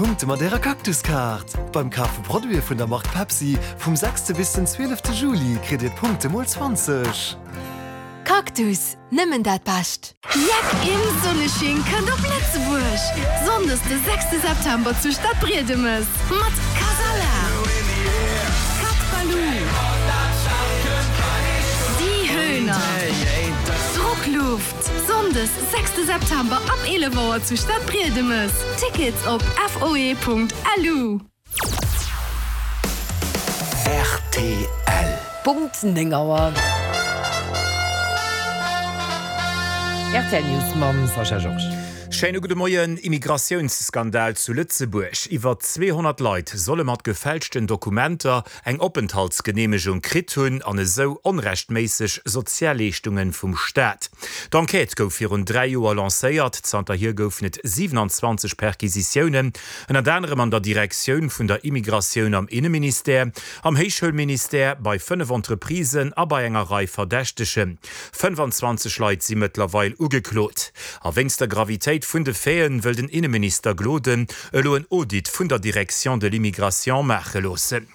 Punkte mat Ärer Cactus-Kaart! Beim Kaf vu Produite vun der Mark Pepsi vum sechste bis den zwielefte Juli kritt Dir d'Punkte mol 20. Cactus, nëmmen dat Bescht! Jeck im Sonnesching kënnt op Lëtzebuerg! Sonndes de sechste September zu Stadbriedemes mat Kasala, Cat Baloo, Die Höhner, Druckluft. Sonndes sechste September ab 11 Auer zu Stadbriedemes. Tickets op foe.lu. Rtl. Punkt 9 Auer. Rtl News mam Sascha Georges. Schéine gudde Moien. Immigratiounsskandal zu Lëtzebuerg, Iwwer 200 Leit solle mat gefälschten Dokumenter eng Openthaltsgeneemegung kritt hunn an esou onrechtméisseg Sozialleeschtunge vum Staat. D'Enquête gouf virun 3 Joer lancéiert. Zanterhier goufen et 27 Perquisitiounen, ënnert anerem an der Direktioun vun der Immigratioun am Inneministère, am Héichschoulministère, bei 5 Entreprisen a bei enger Rei Verdächtegen. 25 Leit si mëttlerweil ugeklot. A wéinst der Gravitéit vun de Faiten wëll den Inneminister Gloden elo en Audit vun der Direction de l'immigration maache loossen.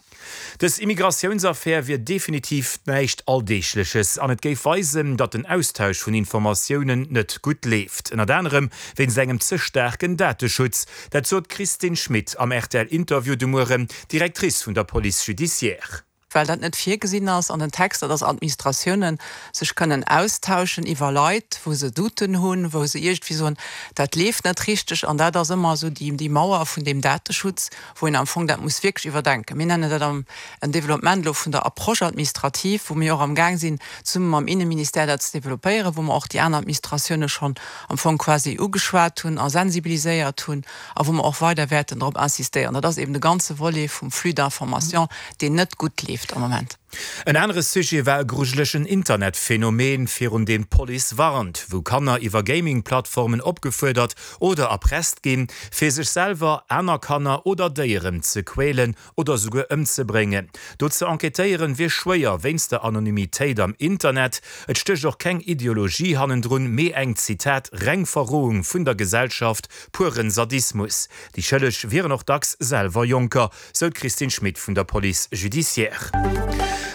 Dës Immigratiounsaffär wier definitiv näischt Alldeegleches an et géif weisen, datt den Austausch vun Informatiounen net gutt leeft, ënnert anerem wéinst engem ze staarken Dateschutz. Dat sot d'Christine Schmit am RTL-Interview de Mueren, Directrice vun der Police judiciaire. Well dat net virgesinn ass an den Texter, dass Administratiounen sech kënnen austauschen iwwer Leit, wou se Douten hunn, wou se iergendwéi soen, dat leeft net richteg. An dat ass ëmmer esou déi Mauer vun deem Dateschutz, wou een am Fong dat muss wierklech iwwerdenken. Mir nennen dat am en Développement elo vun der Approche administrative, wou mir och amgaang sinn, zesumme mam Inneministère dat ze développéieren, wou mer och déi aner Administratioune schonn am Fong quasi ugeschwat hunn a sensibiliséiert hunn. a wou mer och weider wäerten drop insistéieren, dat ass eben de ganze Volet vum Flux d'information, deen net gutt leeft am Moment. En anere Sujet war e grujelegen Internetphänomen, virun deem d'Police warnt, wou Kanner iwwer Gaming-Plattformen opgefuerdert oder erpresst ginn, fir sech selwer, aner Kanner oder Déieren ze quälen oder souguer ëmzebréngen. Do ze enquêtéieren wier schwéier wéinst der Anonymitéit am Internet. Et stécht och keng Ideologie hannendrun, mee eng, Zitat, reng Verrohung vun der Gesellschaft, pueren Sadismus. Déi Schëlleg wieren och dacks selwer Jonker, sou d'Christine Schmit vun der Police judiciaire.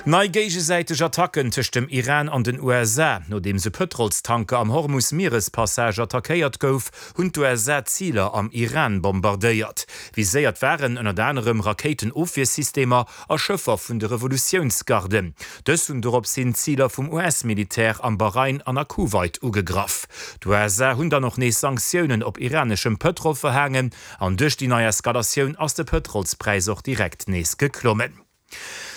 Nei géigesäiteg Attacken tëscht dem Iran an den USA. Nodeems e Pëtrolstanker am Hormus-Mierespassage attackéiert gouf, hunn d'USA Ziler am Iran bombardéiert. Viséiert waren ënnert anerem Rakéitenofwiersystemer a Schëffer vun de Revolutiounsgarden. Dës hunn dorops hin Ziler vum US-Militär am Bahrain an a Kuwait ugegraff. D'USA hunn dann och nees Sanktiounen op iraneschem Pëtrol verhaangen an duerch déi nei Eskalatioun ass de Pëtrolspräis och direkt nees geklommen.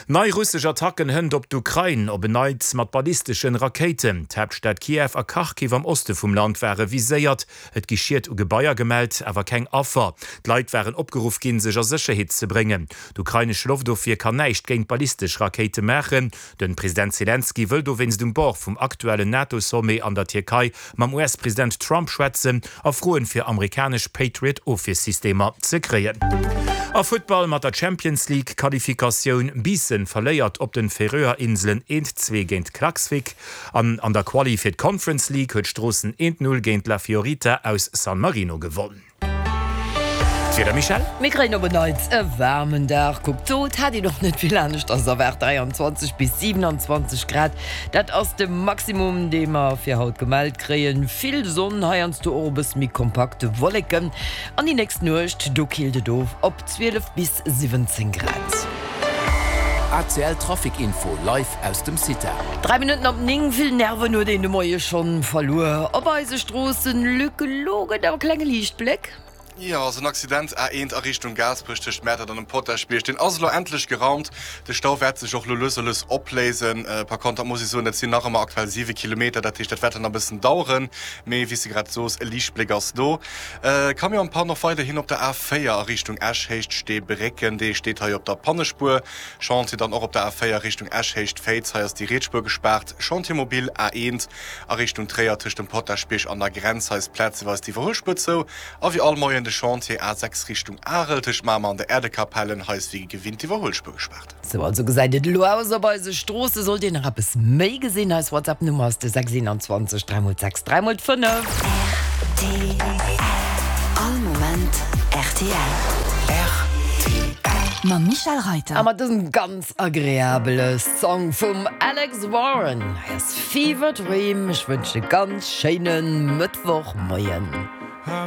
Nei russesch Attacken hënt op d'Ukrain, op en Neits mat ballisteschen Rakéiten. D'Haaptstad Kiew a Kharkiv am Oste vum Land ware viséiert. Et gi Schied u Gebaier gemellt, awer keng Affer. D'Leit waren opgeruff ginn, sech a Sécherheet ze bréngen. D'ukrainesch Loftofwier kann näischt géint ballistesch Rakéite maachen. De President Selenskyj wëll dowéinst um Bord vum aktuellen NATO-Sommet an der Tierkei mam US-President Trump schwätzen a froen, fir amerikanesch Patriot-Ofwiersystemer ze kréien. A Futtball mat der Champions League Qualifikatioun, Biissen verléiert op den Färöer Inselen 1, 2 géint Klaksvik an an der Quali fir d'Conference League huet Stroossen 1, 0 géint La Fiorita aus San Marino gewonn. D'Wieder, Michèle? Mir kréien op en Neits e waarmen Dag. Kuckt do, et hat een och net vill aneschters erwaart, 23 bis 27 Grad, dat ass de Maximum, dee mer fir haut gemellt kréien. Vill Sonn, heiansdo och e bësse méi kompakt Wolleken. An déi nächst Nuecht, do killt et of op 12 bis 17 Grad. ACL Trafic Info live aus dem CITA. 3 Minutten op 9, Vill Nerven huet een de Moie schonn verluer op eise Stroossen. Luc, elo gëtt awer e klenge Liichtbléck. Jo, ass en Accident A1 a Richtung Gaasperech tëscht Mäertert an dem Potaschbierg. Deen ass elo endlech geraumt. De Stau wäert sech och elo lues a lues opléisen. Par contre, dat muss ech soen, dat sinn nach ëmmer aktuell 7 Kilometer. Dat heescht, dat wäert dann nach e bëssen daueren. Mee wéi s de grad sos, e Liichtbléck ass do. Camion en panne och weiderhin op der A4 a Richtung Esch, Héicht Steebrécken. Dee steet hei op der Pannespuer. Chantier dann och op der A4 Richtung Esch, Héicht Féiz. Hei ass déi riets Spuer gespaart. Chantier mobile A1 a Richtung Tréier tëscht dem Potaschbierg an der Grenz. Hei ass plazeweis d'Iwwerhuelspuer zou. A wéi all Moien de Chantier A6 Richtung Arel tëscht Mamer an der Äerdekapellen. Hei ass wéi gewinnt d'Iwwerhuelspuer gespaart. Sou also gesäit et elo aus op eise Stroosse. Sollt Dir nach eppes méi gesinn, eis WhatsApp Nummer ass de 6 21 3 x 6 3 x 5. Rtl, All Moment rtl. Rtl. Mam Michel Reiter. A mat dësem ganz agreabele Song vum Alex Warren, hei ass Fever Dream. Ech wënschen e ganz schéine Mëttwochmoien.